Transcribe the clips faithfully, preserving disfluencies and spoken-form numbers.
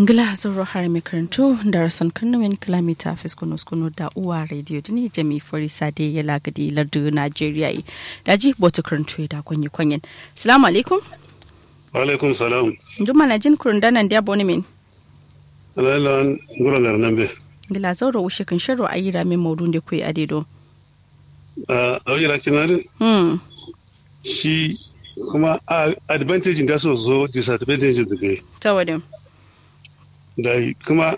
Ngla zauro harami karantu darason karnumin kǝla mita fiskunu skunu da uwa radio dǝni jami farisa de yala gǝdi lardu najeriya ye. Daji botu karantu ye da konye konyen. Salamu alaikum. Alaikum salam. Nduma na jin kurun danan diya boni min. Alailan. Nguro ngar nambe. Ngla zauro wushe kǝn sharro ayi ramin maudun de kwe ade do. A awi rakinari. Hmm. Shi kuma a advantage da so so disadvantage zube. Tawadin. Dai kuma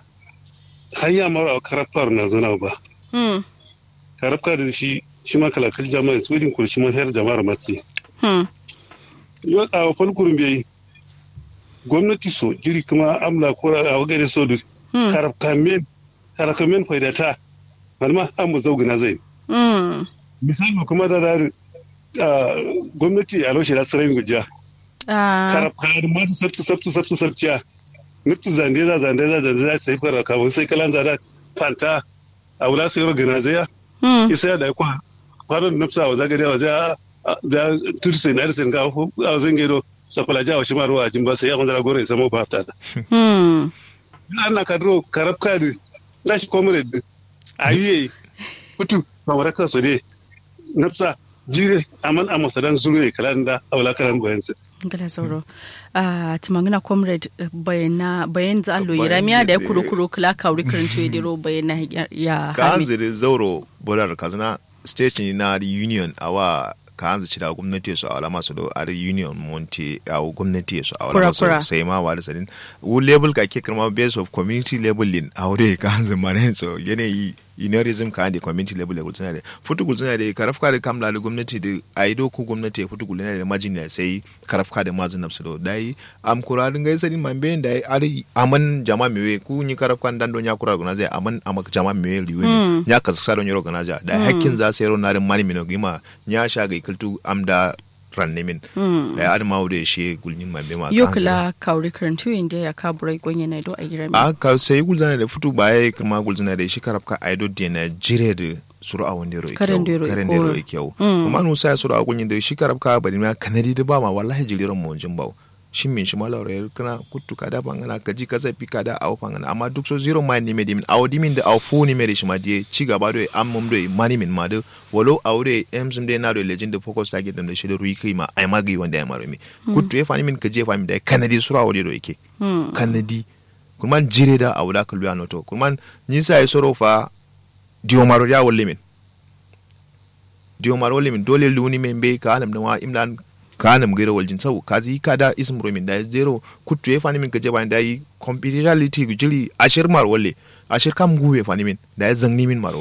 hanya mara karafkar na zana ba. Hmm. Karafka da shi shi ma kalakal jama'a su din kuri shi ma her jama'ar matsi. Hmm. Yo a fal kurum bai. Gwamnati so jiri kuma amla kura a wagare so du. Hmm. Karafka men karafka men faidata. Manma an mu zaugina zai. Hmm. Misali kuma da da gwamnati a roshe da tsirai gujiya. Karab karab ma sabtu sabtu sabtu sabciya. Nuftu zande za zande za zande za sai fara kawun sai kalan za da fanta. A wula sai ro gina zai ya. Isa ya da kwa kwanon nufsa wa zagare wa zai. Da turse na da sai ga a zan gaido. Sakwala jawa shi ma ruwa jin ba sai ya kwanzara gore ya samo ba ta da. Hmm. Ana kadro karab kadi. Na shi comrade. Ayi. Futu. Mamara kansu ne. Nafsa. Jire aman amma sadan zuru ne kalan da aula kalan bayan su. Gala sauro. Ah, tumangina comrade. Bayana bayan za allo yiramiya da ya kuro kuro kula kawri karantu ya diro bayana ya ka hanzi da zauro. Bolar kazina station na union awa ka hanzi cida gwamnati so awala maso do ari union monte awo gwamnati so awala maso sai ma wari sadin. Wu level ka ke kirma base of community level din awo dai ka hanzi mane so yanayi. Unionism ka hande community level ya gulzina dai futu gulzina dai karafka da kamla da gwamnati da ayi do ku gwamnati ya futu gulzina da majin ya sai karafka da mazin nafsu do dai. Am kura da ngai sadin man bayan dai ari aman jama mewe ku ni karafka dan do nya kura guna zai aman amak jama mewe liwe ne nya kaskasa do nyoro gana ja dai hakkin za sai ro na da mani mino gima. Nya sha gai kultu am da ranne min. Dai adama wudo ya shi gulnyin mambe ma yo kula kawri karantu inde ya ka burai gonye na do a gira min a ka sai gulzana da futu baye kuma gulzana da shi karabka aido de na jire da suru a wande ro karen de ro kyau kuma nusa ya suru a gunyin da shi karabka bari ma kanadi da ba ma wallahi jiriran mu jin bawo. Shin min shi ma laura ya kana kuttu ka da bangana ka ji ka zafi ka da awo fangana amma duk so zero ma ni me dimin awo dimin da awo fu ni me da shi ma diye ci gaba do am mum do mani min ma do. Walo awo do em zum de na do lejin da focus target dam da shi da ruyi kai ma ai ma gai wanda ya maro mi. Kuttu ya fani min ka je fani da kanadi sura wode do yake. Kanadi kurman jire da awo da kallu ya noto kurman ni sa ya soro fa. Diyo maro ya walle min. Diyo maro walle min dole luni min be ka hanam da ma imlan ka hanam gairo waljin sau ka zi ka da ismuro min da zero. Kuttu ya fani min ka je fani da yi confidentiality jiri ashir maro walle. Ashir kam guwe fani min da ya zangni min maro.